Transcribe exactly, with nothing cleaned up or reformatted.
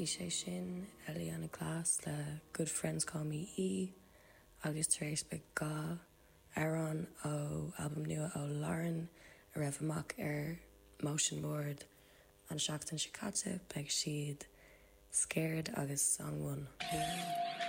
Bhí sé sin Eliana Glass le Good Friends Call Me E agus tar éis beidh dhá amhrán ó albam nua ó Lauren a raibh amach ar Motion Board an seachtain seo caite beidh siad Scared agus Song One.